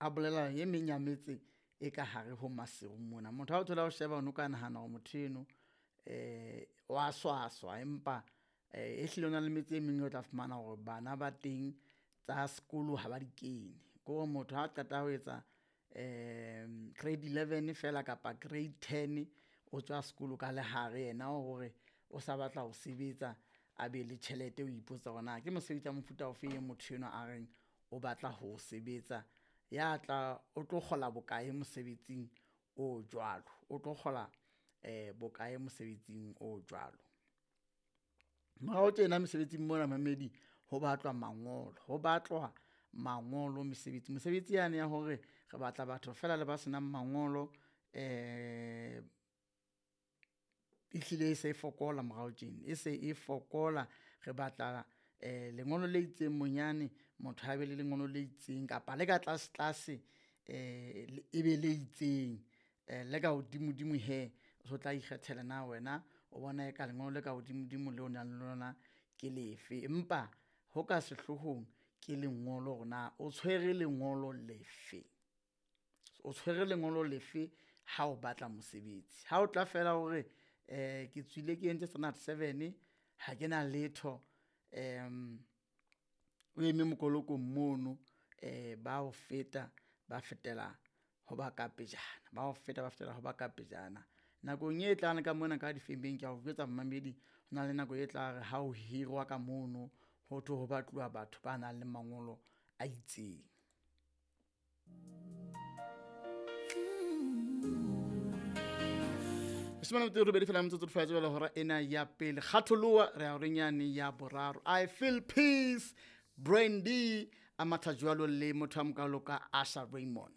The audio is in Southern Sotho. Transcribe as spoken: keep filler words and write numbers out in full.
A bolela e meng ya metse e ka hare ho Maseru mona. Motho ha o thola o sheba o no ka nahana hore motho eno eh wa swaswa, empa eh ehlile ho na le metse e meng o tla fumana hore bana ba teng tsa sekolo ha ba di kene. Ke hore motho ha qeta ho etsa grade eleven fela kapa grade ten, o tswa sekolo ka lehare yena hore o sa batla ho sebetsa a be le tjhelete. O ipotsa hore na ke mosebetsi wa mofuta ofeng motho enwa a reng o batla ho o sebetsa, ya tla o tlo kgola bokae mosebetsing o jwalo, o tlo kgola bokae mosebetsing o jwalo. Morao tjena mesebetsing mona momamedi ho batlwa mangolo, ho batlwa mangolo mesebetsi. Mesebetsi yane ya hore re batla batho fela le ba senang mangolo ehlile e se e fokola morao tjena, e se e fokola. Re batla lengolo le itseng bonyane motho a be le lengolo le itseng kapa le ka tlase tlase e be le itseng. Le ka hodimodimo hee o so tla ikgethela na wena o bona eka lengolo le ka hodimodimo leo o nang le lona ke lefe. Empa ho ka sehlohong ke lengolo hore na o tshwere lengolo lefe, o tshwere lengolo lefe ha o batla mosebetsi. Ha o tla fela hore ke tswile ke entse standard seven ha kena letho o eme mokolokong mono ba o feta ba fetela ho ba ka pejana, ba o feta ba fetela ho ba ka pejana. Nakong e tlang ka mona ka difemeng ke a o jwetsa momamedi, ho na le nako e tla re ha o hirwa ka mono ho thwe ho batluwa batho ba nang le mangolo a itseng. Leshome le metso e robedi fela metsotso di jwale hora ena ya pele. Kgatholoha re ya horeng yane ya boraro. I feel peace, Brandy a matha jwalo le motho a mokalo ka Asha Raymond.